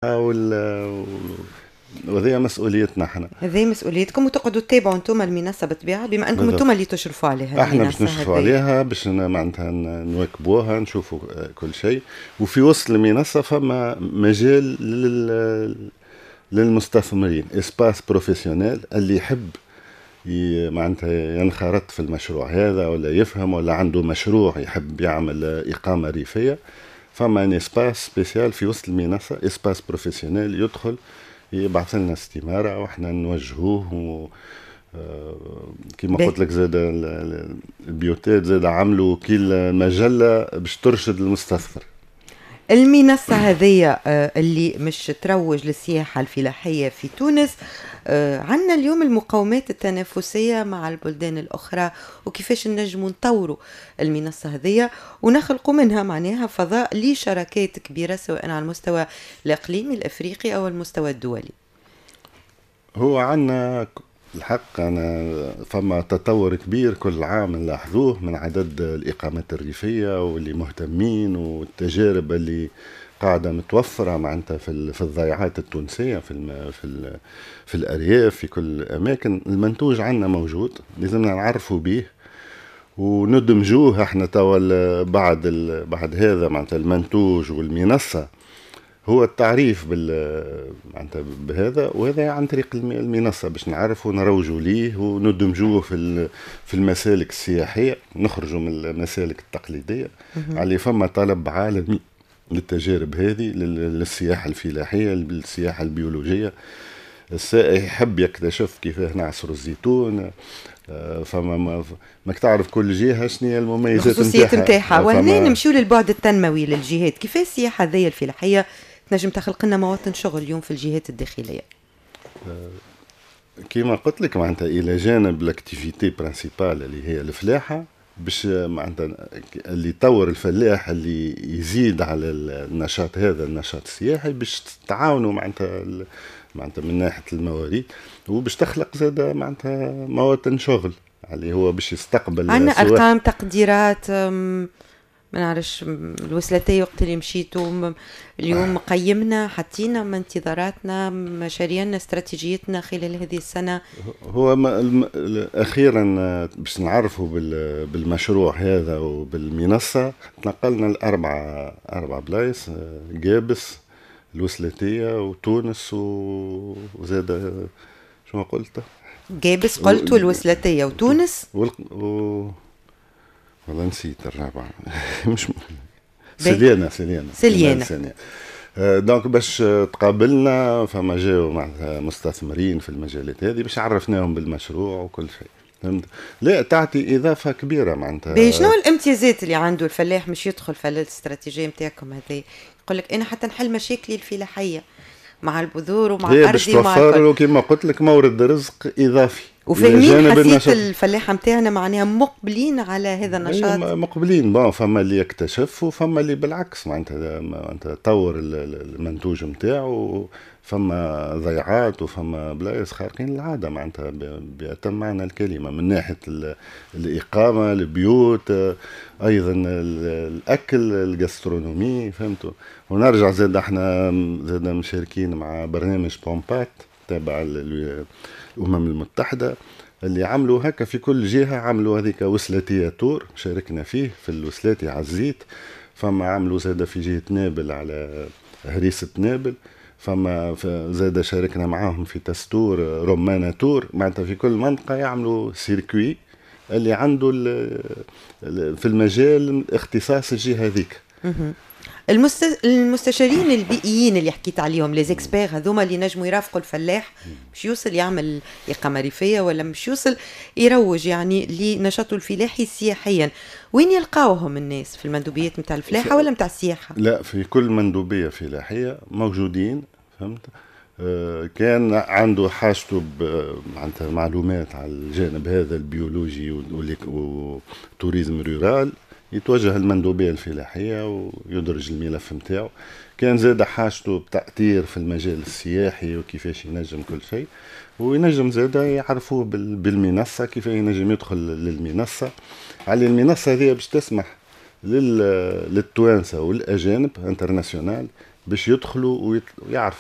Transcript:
وهذه مسؤوليتنا احنا. هذه مسؤوليتكم وتقعدوا تتابعوا انتم المنصة بالطبيعه، بما انكم انتم اللي تشرفوا عليها. احنا باش نشرفوا عليها، باش معناتها نواكبوها، نشوفوا كل شيء. وفي وسط المنصة فما مجال للمستثمرين، espace professionnel، اللي يحب معناتها ينخرط في المشروع هذا ولا يفهم ولا عنده مشروع يحب يعمل اقامه ريفيه، فما un espace spécial في وسط المنصه، espace professionnel، يدخل يبعث لنا استماره واحنا نوجهوه. و كما قلت لك زاد البيوتات زاد عملوا كي المجلة باش ترشد المستثمر. المنصة هذه اللي مش تروج للسياحة الفلاحية في تونس، عندنا اليوم المقومات التنافسية مع البلدان الأخرى؟ وكيفاش نجموا نطوروا المنصة هذه ونخلقوا منها معناها فضاء لشراكات كبيرة، سواء على المستوى الإقليمي الأفريقي أو المستوى الدولي؟ هو عندنا الحق أنا فما تطور كبير كل عام نلاحظوه من عدد الإقامات الريفية واللي مهتمين والتجارب اللي قاعدة متوفرة معناتها في الضيعات التونسية، في الأرياف، في كل الأماكن. المنتوج عندنا موجود، لازمنا نعرفوا به وندمجوه. احنا توا بعد هذا معناتها المنتوج والمنصة هو التعريف معناتها بهذا، وهذا عن طريق المنصة باش نعرفوا نروجوا ليه وندمجوه في المسالك السياحيه، نخرجوا من المسالك التقليديه، على فما طلب عالمي للتجارب هذه، للسياحة الفلاحيه، للسياحة البيولوجيه. السائح يحب يكتشف كيفاه نعصر الزيتون. فما ماك تعرف كل جهة شنو هي المميزات الخصوصيات نتاعها. وهنا نمشيو للبعد التنموي للجهات، كيفاش السياحة هذه الفلاحية تنجم تخلق لنا مواطن شغل اليوم في الجهات الداخليه؟ كيما قلت لك، معناتها الى جانب l'activité principale اللي هي الفلاحه، باش معناتها اللي يطور الفلاح، اللي يزيد على النشاط هذا، النشاط السياحي، باش تعاونوا معناتها من ناحية الموارد، وباش تخلق زاد معناتها مواطن شغل اللي هو باش يستقبل. عندنا ارقام، تقديرات؟ ما نعرفش، الوسلاتية وقت اللي مشيتوا اليوم قيمنا، حطينا من انتظاراتنا، مشاريعنا، استراتيجيتنا خلال هذه السنة؟ هو ما أخيرا باش نعرفوا بالمشروع هذا وبالمنصة تنقلنا لأربع بلايص: قابس، الوسلاتية، وتونس، وزاد شو قلت؟ قابس قلت، والوسلاتية، وتونس. والله نسيت الرابعة، مش سليانة، سليانة. سليانة. سليانة. donc باش تقابلنا، فما جاوا معناتها مستثمرين في المجالات هذه باش عرفناهم بالمشروع وكل شيء، فهمت؟ لا، تعطي اضافه كبيرة معناتها. شنو الامتيازات اللي عنده الفلاح مش يدخل في الاستراتيجية نتاعكم هذه؟ يقول لك انا حتى نحل مشاكلي الفلاحية مع البذور ومع الارض ومع توفر له كما قلت لك مورد رزق اضافي. وفاهمين حسيت الفلاحة نتاعنا معناها مقبلين على هذا النشاط؟ مقبلين. bon، فما اللي يكتشف وفما اللي بالعكس معناتها طور المنتوج نتاعو. فما ضيعات وفما بلايص خارقين العادة معناتها بأتم معنى الكلمه، من ناحية الاقامه، البيوت، ايضا الاكل، ال gastronomie، فهمتوا؟ ونرجع زاد احنا زاد مشاركين مع برنامج POMPAT تابع الامم المتحده، اللي عملوا هكا في كل جهه، عملوا هذيك وسلاتيه tour، شاركنا فيه في الوسلاتي على الزيت، فما عملوا زاد في جهة نابل على هريسه نابل، فما زاد شاركنا معاهم في تستور رمانة tour. معناتها في كل منطقة يعملوا circuit اللي عنده في المجال اختصاص الجهة هذيك. المستشارين البيئيين اللي حكيت عليهم، les experts هذوما اللي نجموا يرافقوا الفلاح مش يوصل يعمل إقامة ريفية ولا مش يوصل يروج يعني لنشاطه الفلاحي سياحيا، وين يلقاوهم الناس؟ في المندوبيات نتاع الفلاحة ولا نتاع السياحة؟ لا، في كل مندوبية فلاحية موجودين، فهمت؟ كان عنده حاجته معناتها معلومات على الجانب هذا البيولوجي و tourisme rural، يتوجه المندوبية الفلاحية ويدرج الملف نتاعو. كان زاد حاجته بتأطير في المجال السياحي وكيفاش ينجم كل شيء، وينجم زاد يعرفوه بالمنصة، كيف ينجم يدخل للمنصة. على المنصة هذه باش تسمح للتوانسة والأجانب international باش باش يدخلوا ويعرفوا.